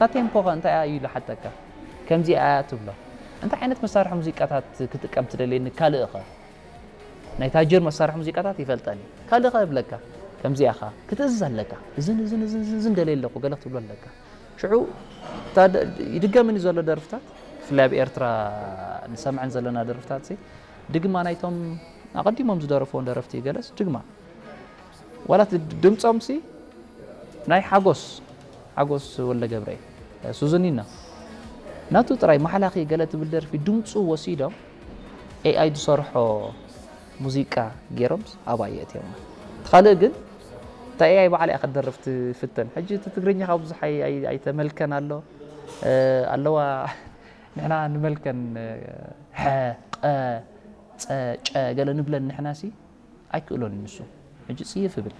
እታ ቴምፖ ከ እንታይ እያ ኢሉ ሓተካ። ከምዚኣ እያ ትብሎ። እንታይ ዓይነት መሳርሒ ሙዚቃታት ክጥቀም ትደልየኒ ካልእ ኸ? ናይ ታጀር መሳርሒ ሙዚቃታት ይፈልጠን እዩ። ካልእ ኸ እብለካ። ከምዚኣ ኸ ክትእዝዝ ኣለካ። እዝን እዝን እዝን እዝን እዝን ደልየ ኣለኹ ገለ ክትብሎ ኣለካ። ሽዑ እታ ደ- ይድገምን እዩ ዘሎ ደርፍታት፣ ብፍላይ ኣብ ኤርትራ ንሰምዐን ዘለና ደርፍታት ሲ፣ ድግማ ናይቶም ኣቐዲሞም ዝደረፍዎም ደረፍቲ ገለስ ድግማ ዋላ እቲ ድምፆም ሲ ናይ ሓጎስ ሓጎስ ወልደ ገብርኤል ሱዙኒና ናቱ ጥራይ ማሕላኺ ገለ ትብል ደርፊ ድምፁ ወሲዶም ኤኣይ ዝሰርሖ ሙዚቃ ገይሮም ኣብኣ የእትዮም። እቲ ካልእ ግን እታ ኤኣይ ባዕላ እያ ክትደርፍ ትፍተን። ሕጂ እቲ ትግርኛ ካብ ብዙሕ ኣይ- ኣይ- ኣይተመልከን ኣሎ ኣለዋ። ንሕና ንመልከን ሐ ቀ ጸ ጨ ገለ ንብለን ንሕና ሲ ኣይክእሎን ንሱ። ሕጂ ጽይፍ እብል።